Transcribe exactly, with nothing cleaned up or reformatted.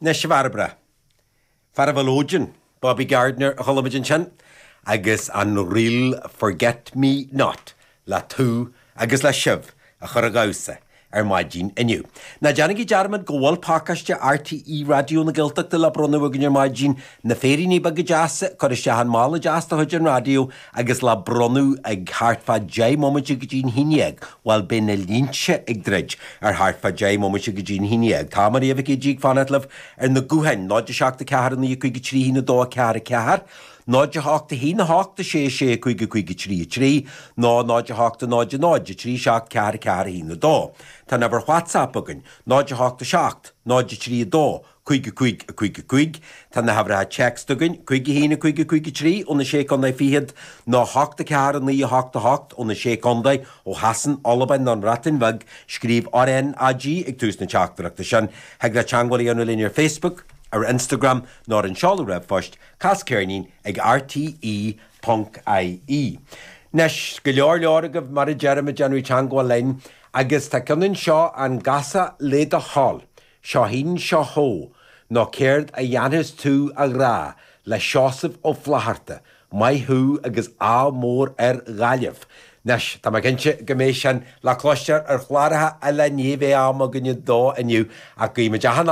Anois a Bhairbre. Fear an mhiolóidin, Bobby Gardiner a chuala muid ansin, agus an ríl Forget Me Not le tú agus le sibh a chur ag damhsa ar maidin inniu. Ná déanaigí dearmad go bhfuil pacáiste RTÉ Raidió na Gaeltachta le bronnadh againn ar maidin na féiríní beaga deasa cur isteach an mála deas de chuid an raidió agus le bronnadh ag thart fá deich mbomaite go dtí'n haon déag, bhuel beidh na línte ag druid ar thart fá deich mbomaite go dtí'n haon déag. Tá Maria Mhic Éadaigh ag fanacht libh ar na gutháin náid a seacht a ceathair naoi cúig a trí haon a dó a ceathair a ceathair, náid a hocht a haon a hocht a sé sé cúig a cúig a trí a trí, nó náid a hocht a náid a náid a trí seacht ceathair a ceathair a haon a dó. Tá an uimhir WhatsApp againn, náid a hocht a seacht, náid a trí a dó, cúig a cúig a cúig a cúig, Tá na huimhreacha téacs againn, cúig a haon a cúig a cúig a trí ó na sé contae fichead nó hocht a ceathair a naoi a hocht a hocht ó na sé contae ó Shasain, Albain nó an Bhreatain Bheag, scríobh RNAG ag tús na teachtaireachta sin, thig leat teagmháil a dhéanamh linn ar Facebook, ar Instagram nó ar an seoladh ríomhphoist cas ceirnín ag RTE ponc IE. Anois go leor leor agaibh mar a deirim ag déanamh teagmháil linn agus tá ceann anseo an gcasfá le do thoil, seo thín seo thó, nó céard a dhéanfas tú a ghrá le Seosamh Ó Flatharta, maith thú agus ádh mór ar Ghaillimh. Anois, tá mé cinnte go mbeidh sin le cloisteáil ar chláracha eile ní bheidh am againne dó inniu ach guímid achan